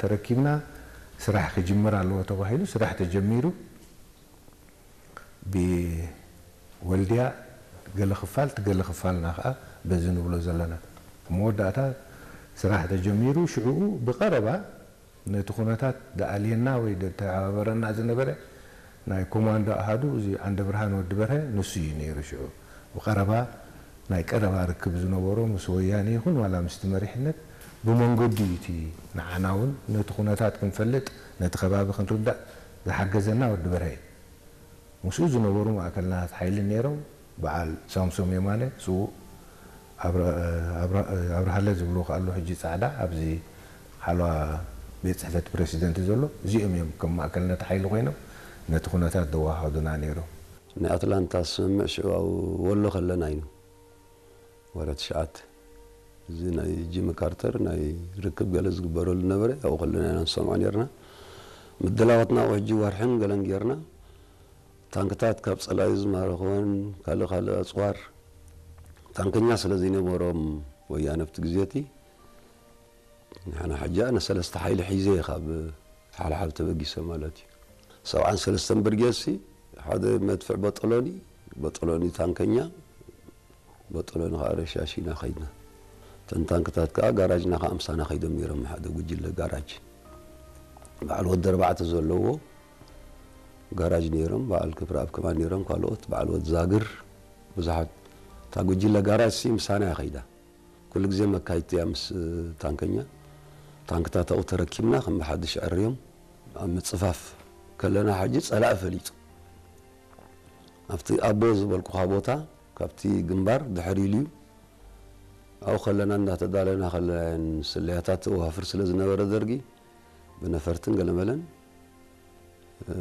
ተረኪብና ስራሕ ክጅመር ኣለዎ ተባሂሉ ስራሕ ተጀሚሩ። ብወልድያ ገለ ክፋል፣ እቲ ገለ ክፋልና ከዓ በዚ ንብሎ ዘለና። መወዳእታ ስራሕ ተጀሚሩ፣ ሽዕኡ ብቐረባ ነቲ ኩነታት ደኣልየና ወይ ደተሓባበረና ዝነበረ ናይ ኮማንዶ ኣሃዱ፣ እዚ ዓንደ ብርሃን ወዲ በርሀ፣ ንሱ እዩ ነይሩ። ሽዑ ብቐረባ ናይ ቀረባ ርክብ ዝነበሮ ምስ ወያነ ይኹን ዋላ ምስቲ መሪሕነት ብመንገዱ እዩ እቲ ንዓና እውን ነቲ ኩነታት ክንፈልጥ፣ ነቲ ከባቢ ክንርዳእ ዝሓገዘና ወዲ በርሀ እዩ። ምስኡ ዝነበሩ ማእከልናት ሓይሊ ነይሮም። በዓል ሳምሶም የማነ፣ ስዉእ ኣብረ-፣ ኣብረ-፣ ኣብርሃለ ዝብልዎ ከኣ ኣሎ፣ ሕጂ ጻዕዳ ኣብዚ ሓለዋ ቤት ጽሕፈት ፕረሲደንት ዘሎ። እዚኦም እዮም ከም ማእከልነት ሓይሊ ኮይኖም ነቲ ኩነታት ዘወሃሃዱና ነይሮም። ናይ ኣትላንታ ስምምዕ ሽዑ ኣብ ወሎ ከለና እዩ። ወረ ትሽዓተ። እዚ ናይ ጂሚ ካርተር ናይ ርክብ ገለ ዝግበረሉ ነበረ። ኣብኡ ከለና ኢና ንሰምዖ ነርና። ምድላዋትና ኣብ ሕጂ ወርሕን ገለን ጌርና። ታንክታት ካብ ጸላኢ ዝማረኽወን ካልእ ካልእ ኣጽዋር ታንከኛ ስለ ዘይነበሮም ወያነ ኣብቲ ግዜ እቲ፣ ንሕና ሕጂ ኣነ ሰለስተ ሓይሊ ሒዘ እየ ካብ ሓልሓል ተበጊሰ ማለት እዩ። ሰብዓን ሰለስተን ብርጌድ ሲ ሓደ መድፍዕ በጠሎኒ፣ በጠሎኒ ታንከኛ፣ በጠሎኒ ከዓ ረሻሽ ኢና ከይድና። እተን ታንክታት ከዓ ጋራጅና ከዓ ምሳና ከይዶም ነይሮም፣ ሓደ ጉጅለ ጋራጅ። በዓል ወዲ ኣርባዕተ ዘለዎ ጋራጅ ነይሮም፣ በዓል ክብረኣብ ከማን ነይሮም፣ ካልኦት በዓል ወዲ ዛግር፣ ብዙሓት። እታ ጉጅለ ጋራጅ ሲ ምሳና እያ ከይዳ። ኩሉ ግዜ መካይድቲ እያ ምስ ታንከኛ። ታንክታት ኣብኡ ተረኪብና ከም ብሓድሽ ዕርዮም ኣብ ምጽፋፍ ከለና፣ ሕጂ ጸላኢ ፈሊጡ። ኣብቲ ኣቦ ዝበልኩኻ ቦታ ካብቲ ግንባር ድሕር ኢሉ እዩ። ኣብኡ ከለና እንዳተዳለና ከለና እየን ስለያታት ተዋፍር ስለ ዝነበረ ደርጊ ብነፈርትን ገለመለን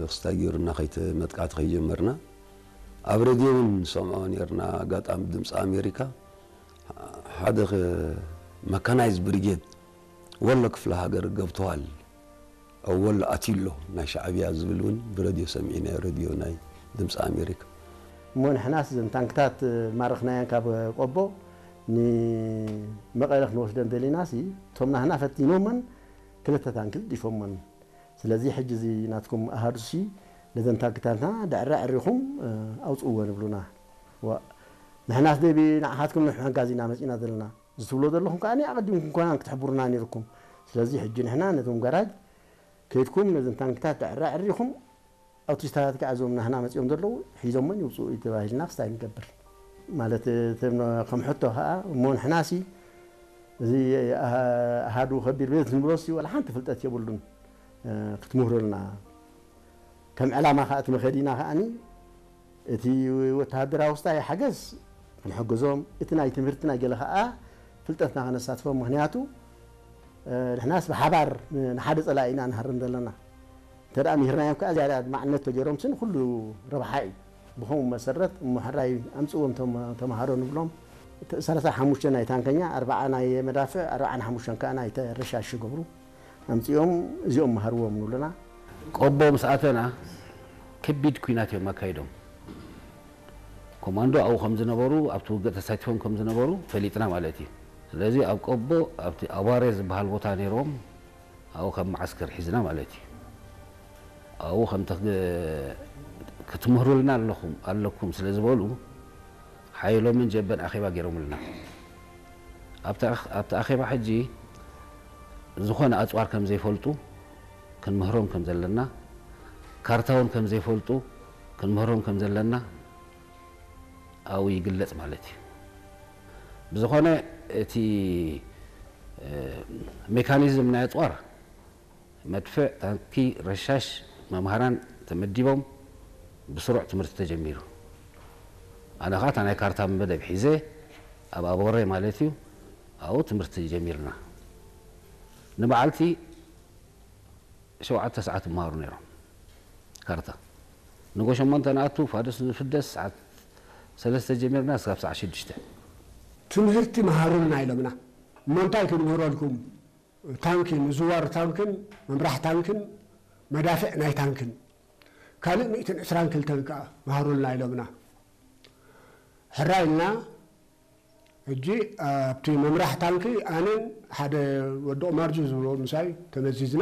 ክስታይ ገይሩና ከይተ-፣ መጥቃዕቲ ከይጀመርና ኣብ ሬድዮ እውን ንሰምዖ ነርና። ኣጋጣሚ ድምፂ ኣሜሪካ ሓደ መካናይዝ ብሪጌድ ወሎ ክፍለ ሃገር ገብተዋል፣ ኣብ ወሎ ኣትዩ ኣሎ ናይ ሻዕብያ ዝብል እውን ብሬድዮ ሰሚዕናዮ፣ ሬድዮ ናይ ድምፂ ኣሜሪካ። እሞ ንሕናስ እዘን ታንክታት ማረኽናየን ካብ ቆቦ ንመቐለ ክንወስደን ደሊናሲ፣ እቶም ናህና ፈቲኖመን ክልተ ታንኪ ዲፎመን። ስለዚ ሕጂ እዚ ናትኩም ኣሃዱሲ ነዘን ታንክታትና ድዕረ ዕሪኹም፣ እ፣ ኣውፅእወን ይብሉና። ዋ፣ ንሕናስ ደቢ ንዓኻትኩም ንምሕጋዝ ኢና መፂና ዘለና። እዚ ትብሎ ዘለኹም ከኣ ኣቐዲምኩም ኮናን ክትሕብሩና ነይርኩም። ስለዚ ሕጂ ንሕና ነቶም ጋራጅ ከይድኩም ነዘን ታንክታት ድዕረ ዕሪኹም፣ ኣውቲስታት ከኣ እዞም ናህና መፂኦም ዘለዉ ሒዞሞን ይውፅኡ እዩ ተባሂልና ክስታይ ንገብር። ማለት፣ እቶም ከም ሕቶ ከኣ እሞ ንሕናሲ እዚ ኣሃ-፣ ኣሃዱ ከቢድ ቤት ንብሎሲ ዋላ ሓንቲ ፍልጠት የብሉን፣ እ፣ ክትምህሩልና። ከም ዕላማ ከኣ እቲ መኸዲና ከኣኒ እቲ ወተሃደራዊ ስታይ ሓገዝ ክንሕግዞም፣ እቲ ናይ ትምህርቲ ናይ ገለ ከኣ ፍልጠትና ከነሳትፎም። ምኽንያቱ፣ እ፣ ንሕናስ ብሓባር ን-፣ ንሓደ ጸላኢ ኢና ንሃርም ዘለና። እንተ ደኣ ምሂርናዮም ከኣ ዝያዳ ማዕነት ተገይሮምሲ ንኹሉ ረብሓ እዩ። ብኸምኡ መሰረት እሞ ሕራይ ኣምጽእዎም ተም-፣ ተምሃሮ ንብሎም። እቲ ሰላሳ ሓሙሽተ ናይ ታንከኛ፣ ኣርባዓ ናይ መዳፍዕ፣ ኣርባዓን ሓሙሽተን ከኣ ናይ ተረሻሽ ይገብሩ። ኣምጺኦም እዚኦም መሃርዎም ንብሉና። ቆቦ ምስ ኣተና ከቢድ ኲናት እዮም ኣካይዶም። ኮማንዶ ኣብኡ ከም ዝነበሩ፣ ኣብቲ ውግእ ተሳቲፎም ከም ዝነበሩ ፈሊጥና ማለት እዩ። ስለዚ ኣብ ቆቦ፣ ኣብቲ ኣባሬ ዝበሃል ቦታ ነይሮም፣ ኣብኡ ከም መዓስከር ሒዝና ማለት እዩ። ኣብኡ ከም ተግ-፣ ክትምህሩልና ኣለኹም፣ ኣለኩም ስለ ዝበሉ፣ ሓየሎምን ጀበን ኣኼባ ገይሮምልና። ኣብቲ ኣኽ-፣ ኣብቲ ኣኼባ ሕጂ ዝኾነ ኣጽዋር ከም ዘይፈልጡ ክንምህሮም ከም ዘለና፣ ካርታ እውን ከም ዘይፈልጡ ክንምህሮም ከም ዘለና ኣብኡ ይግለጽ ማለት እዩ። ብዝኾነ እቲ፣ እ፣ ሜካኒዝም ናይ ኣጽዋር፣ መድፍዕ፣ ታንኪ፣ ረሻሽ፣ መምሃራን ተመዲቦም ብስሩዕ ትምህርቲ ተጀሚሩ። ኣነ ኸዓ እታ ናይ ካርታ መደብ ሒዘ ኣብ ኣቦሬ ማለት እዩ፣ ኣብኡ ትምህርቲ ጀሚርና። ንመዓልቲ ሸውዓተ ሰዓት ይመሃሩ ነይሮም ካርታ። ንጎ ሸሞንተ ንኣቱ፣ ፋዱስ ንፍደስ፣ ሰዓት ሰለስተ ጀሚርና እስካብ ሰዓት ሽዱሽተ። ትምህርቲ መሃሩልና ኢሎምና። እሞ እንታይ ክንምህረልኩም? ታንኪ፣ ምዝዋር ታንክን ምምራሕ ታንክን መዳፍዕ ናይ ታንክን ካልእ ሚእትን ዕስራን ክልተን ከኣ መሃሩልና ኢሎምና። ሕራይ ኢልና ሕጂ ኣብቲ ምምራሕ ታንኪ ኣነን ሓደ ወዲ ቁማርጁ ዝብሎ ምሳይ ተመዚዝና።